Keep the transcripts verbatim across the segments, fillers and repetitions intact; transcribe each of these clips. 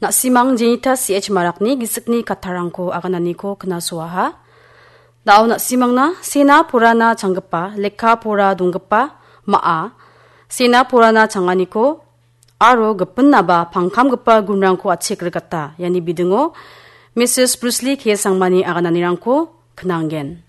Na·simang Jenita C H Marakni gisikni kattarangko agananiko knasoaha. Da·o na·simangna sena porana changgipa, lekka pora donggipa, ma·a, sena porana changaniko aro gipinaba pangkamgipa gunrangko achik rikata. Iani bidingo Misis Bruce Lee K Sangmani agananirangko knanggen.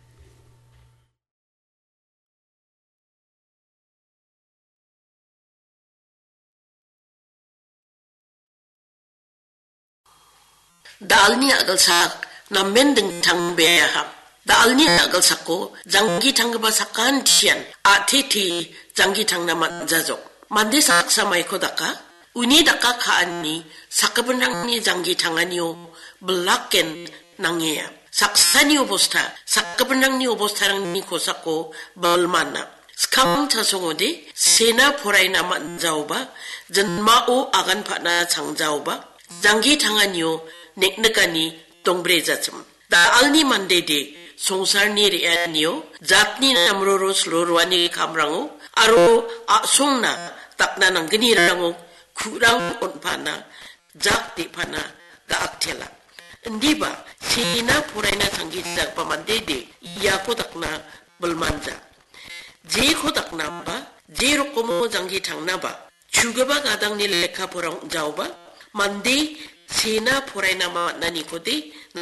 Da·alni a·gilsak namen dingtang beaha. Da·alni a·gilsako janggi tanggipa sakantian a·tete janggi tangna man·jajok. Mande saksa maiko daka, uni daka ka·ani sakgipinrangni janggi tanganio bilaken nangea. Saksani obosta, sakgipinrangni obostarangni kosako bilmana. Skang chasongode sena poraina man·jaoba, jinmao agan pa·na changjaoba, janggi tanganio neknikani dongbrejatim. Da·alni mandede songsarni re·anio, jatni namroro siloroani kamrango, aro a·songna dakna nanggnirango ku·rang on·pana, jak de·pana da·aktela. Indiba sena poraina changgijagipa mandede iako dakna bilmanja. Jeko daknaba, je rokomo janggi tangnaba, chugipa gadangni lekka pora ong·jaoba, mande sena poraina man·anikode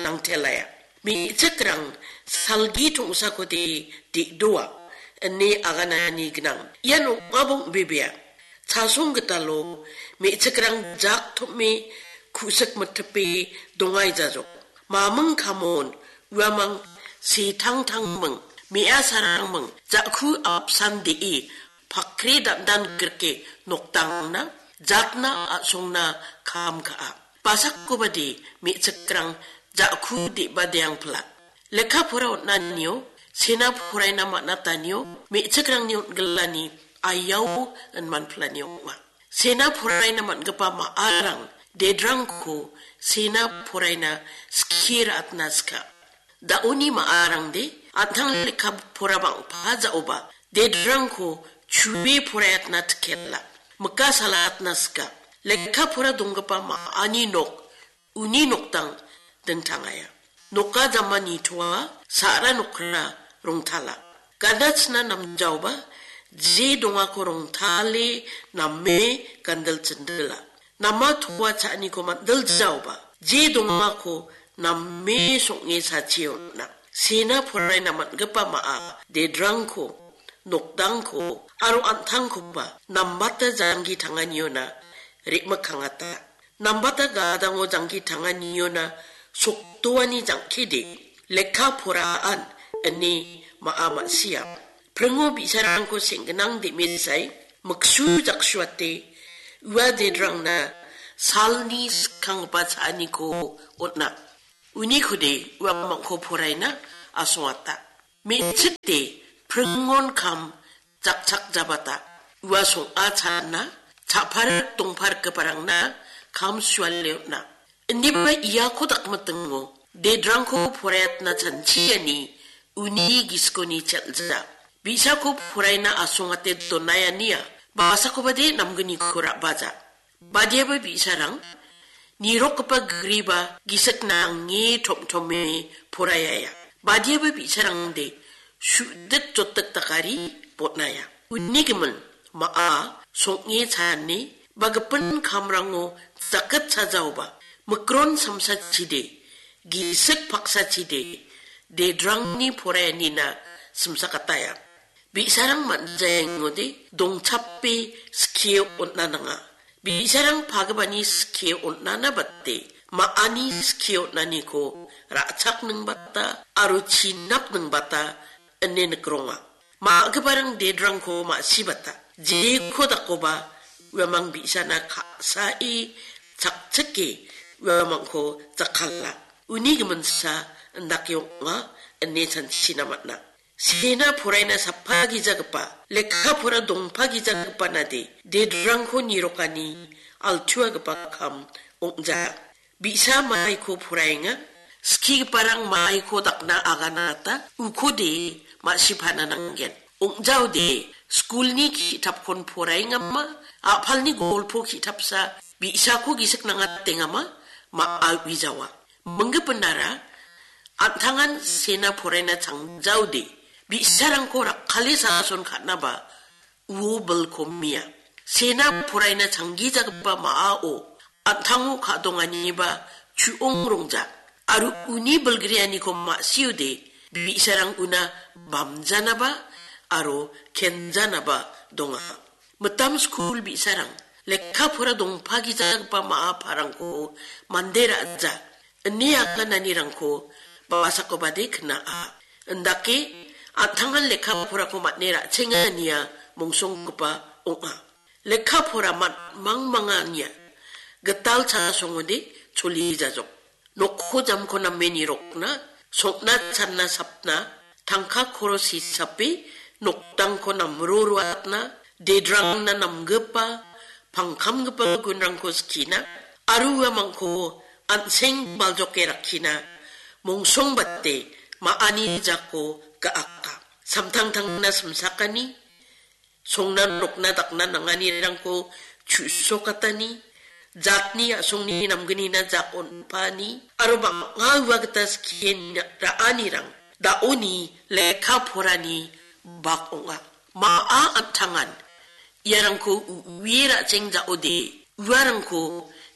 nangtelaia. Me·chikrang salgi tongsakode de·doa, ine aganani gnang. Ian ong·aba ong·bebea. Chasong gitalo me·chikrang jak tom·e ku·sik mitipe dongaijajok. Maming kamon uamang setangtangming, me·asarangming, ja·ku apsan de·e pakri dandan grike nokdangna jatna a·songna kam ka·a. Basakobade me·chikrang ja·ku de·badeangpila. Lekka pora on·anio, sena poraina man·atanio, me·chikrangni on·gilani ayau inmanpilani ong·a. Sena poraina man·gipa ma·arang dedrangko sena poraina skie ra·atna sika. Da·oni ma·arangde an·tang lekka pora bang·pa ja·oba dedrangko chue poraiatna tikela. Mika salatna sika. Lekka pora donggipa ma·ani nok uni nokdang dingtangaia. Noka jama nitoa sa·ra nokra rongtala. Ganachina namjaoba je dongako rongtale name gandil chindila. Nama toa cha·aniko mandiljaoba je dongako name song·e sachi on·a. Sena poraina man·gipa ma·a dedrangko, nokdangko aro an·tangkoba nambata janggi tanganiona re·mikkangata. Nambata gadango janggi tanganiona sokdoani jangkide, lekka poraan ine ma·a ma·sia. Pringo bi·sarangko seng·ginang de·mesai, miksu jaksuate, ua dedrangna salni skanggipa cha·aniko on·a. Unikode uamangko poraina asongata. Me·chikde pringon kam jakchak jabata. Ua song·a cha·na, cha·parik dongparikgiparangna kam suale on·a. Indiba iako dakmitingo, dedrangko poraiatna chanchiani uni gisikoni chel·ja. Bi·sako poraina asongate donaiania, basakobade namgniko ra·baja. Badiaba bi·sarang, nirokgipa griba gisik nange tom·tome poraiaia. Badiaba bi·sarangde su·dik jotdik dakari botnaia. Uni gimin, ma·a, song·e chane, ba gipin kamrango jakit chajaoba, mikron samsachide, gisik paksachide, dedrangni poraianina simsakataia. Bi·sarang man·jaengode dongchape skie on·a nanga. Bi·sarang pagipani skie on·ana bate, ma·ani skie on·aniko ra·chakningbata aro chinapningbata ine nikronga. Ma·giparang dedrangko ma·sibata, jeko dakoba uamang bi·sana ka·sae chakchike uamangko jakkala. Uni giminsa indake ong·a ine chanchina man·a. Sena poraina sapa gijagipa, lekka pora dongpa gijagipa nade, dedrangko nirokani altuagipa kam ong·ja. Bi·sa maiko poraenga, skigiparang maiko dakna aganata, ukode ma·sipana nanggen. Ong·jaode, skulni ki·tapkon poraengama, a·palni golpo ki·tapsa, bi·sako gisik nangatengama, ma·a uijawa. Minggipinara an·tangan sena poraina changjaode, bi·sarangko rakkale sason ka·naba uo bilkomia. Sena poraina changgijagipa ma·ao an·tango ka·donganiba chu·ong rongja. Aro uni bilgrianiko ma·siode, bi·sarang una bamjanaba aro kenjanaba donga. Mitam skul bi·sarang lekka pora dongpagijagipa ma·a parangko mande ra·ja ine agananirangko basakobade kna·a. Indake an·tangan lekka porako man·e ra·chengania mongsonggipa ong·a. Lekka pora man-, mangmangania gital chasongode choli jajok. Nokko jamko name nirokna, sokna channa sapna, tangka koros hisape noktangko namro ruatna, dedrangna namgipa, pangkamgipa gunrangko skina, aro uamangko an·seng baljoke rakkina, mongsongbate ma·ani jako ga·aka. Samtangtangna simsakani, songna nokna dakna nanganirangko chu·sokatani, jatni a·songni namgnina jak on·paani, aro bang·a ua gita skie ra·anirang da·oni lekka porani bak ong·a. Ma·a an·tangan iarangko u-, uie ra·cheng ja·ode, uarangko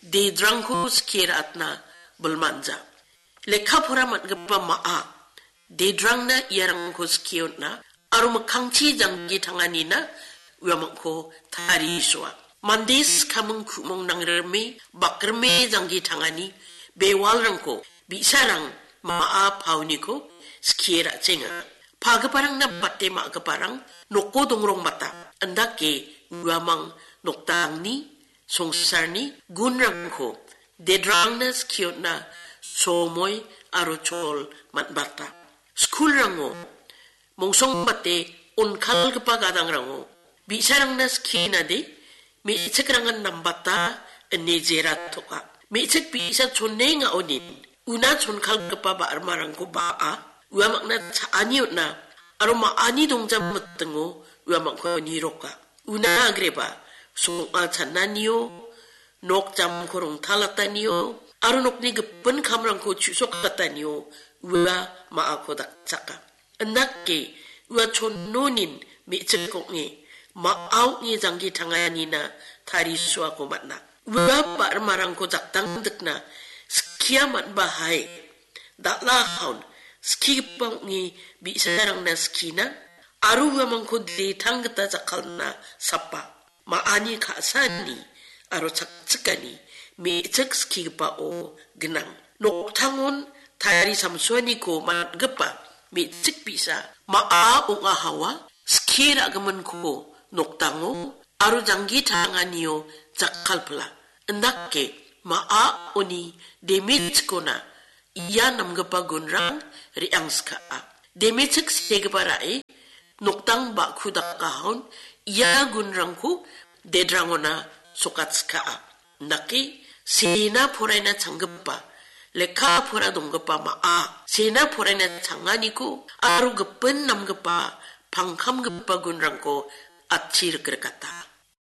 dedrangko skie ra·atna bilmanja. Lekka pora man·gipa ma·a, dedrangna iarangko skie on·a, aro mikkangchi janggi tanganina uamangko tarisoa. Mande skaming ku·mong nangrime, bakrime janggi tangani bewalrangko bi·sarang ma·a paoniko skie ra·chenga. Pagiparangna bate ma·giparang noko dongrongbata, indake uamang noktangni songsarni gunrangko dedrangna skiona somoi aro chol man·bata. Skulrango mongsongbate onkalgipa gadangrango bi·sarangna skienade me·chikrangan nambata ine jera toka. Me·chik bi·sa chonengaonin una chonkalgipa ba·rimarangko ba·a, uamangna cha·ani on·a, aro ma·ani dongjam mitingo uamangko niroka. Una agreba song·a chananio, nok jamko rongtalatanio, aro nokni gipin kamrangko chu·sokatanio ua ma·ako dakchaka. Indake ua chonnonin me·chik ong·e, ma·a ong·e janggi tanganina tarisoako man·a. Ua ba·rimarangko jakdangdikna skia man·bahai. Dal·a haun skigipa ong·e bi·sarangna skina, aro uamangko detang gita jakkalna sapa. Ma·ani ka·sani aro chakchikani me·chik skigipao gnang. Noktangon tari samsoaniko man·gipa me·chik bi·sa ma·a ong·a hawa skie ra·giminko noktango aro janggi tanganio jakkalpila. Indake ma·a oni damage-kona ia namgipa gunrang re·angskaha. Damage-chik segipa ra·e noktang ba·ku dakahaon ia gunrangko dedrangona sokatskaha. Indake sena poraina changgipa, lekka pora donggipa ma·a, sena poraina changaniko aro gipin namgipa, pangkamgipa gunrangko atchi rikrikata.